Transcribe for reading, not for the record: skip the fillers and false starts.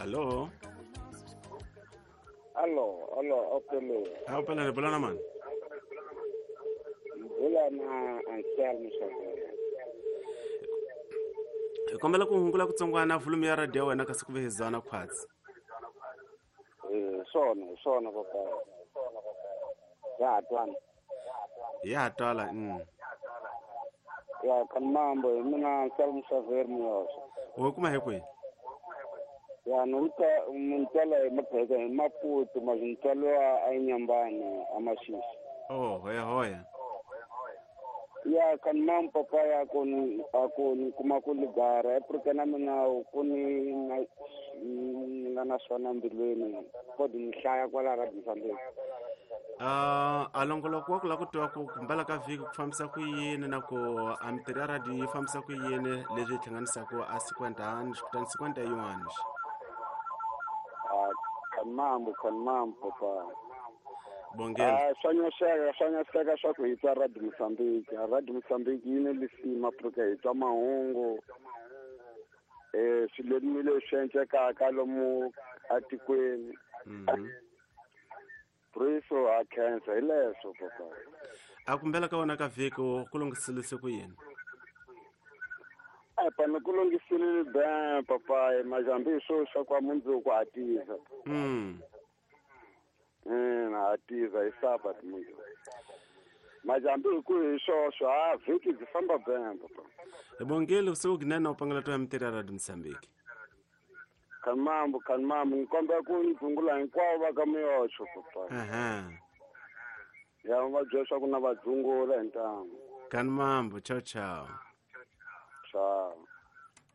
Allo? Allo, allo, opele. A upela ni bula na mani? Bula na Anselmo Xavier. Hi kombela ku hungula kutsongwana volume ya radio ya wena kasi ku ve hi zwana khwatsi. Eh, swona, hi swona papa. Ya ha twana. Ya ha twala. Ya kan mambo, hi mina Anselmo Xavier Muyoso. Wo kuma hi kwihi? Ya ni uta muntswala hi mapheka hi Maputo, mazintswalo a Inyambani a Masisi. Oh, hoya hoya. Ya kan mambo papa ya ku ni a ku ni kuma ku ligara Afrika na mina ku ni na ni nga na swona mbilwini kodi ni hlaya kwala Radio Mozambique. A longoloko wa ku lava ku tiva ku kumbela ka vhiki ku fambisa ku yini na ku a mitirho ya radio yi fambisa ku yini leswi yi hlanganisaka a 50 anos kutani 51 anos. Kan mambo, kan mambo papa. Bongela. Swa nyoxeka, swa nyoxeka swa ku hi twa Radio Mozambique. Radio Mozambique yi ni lisima Afrika hi twa mahungu. Swilo leswi endlekaka lomu atikweni. Priso a khensa hi leswo papa. A kumbela ka wena ka vhiki ku lunghiselise ku yini? Pa ni ku lunghiselile ben papa, majambi swo swa kwa mundzuku ha tiza. Ha tiza hi Sabat mundzuku. Majambi hi ku hi swoswo, a vhiki byi famba ben papa. Hi bongile usiku kunene u pangela to ya mitirho ya Radio Mozambique. Kan mambo, kan mambo, ni kombela ku ni dzungula hinkwavo va ka Muyoxo papa. Ya va byela swa ku na va dzungula hi ntamu. Kan mambo, ciao ciao. Ciao.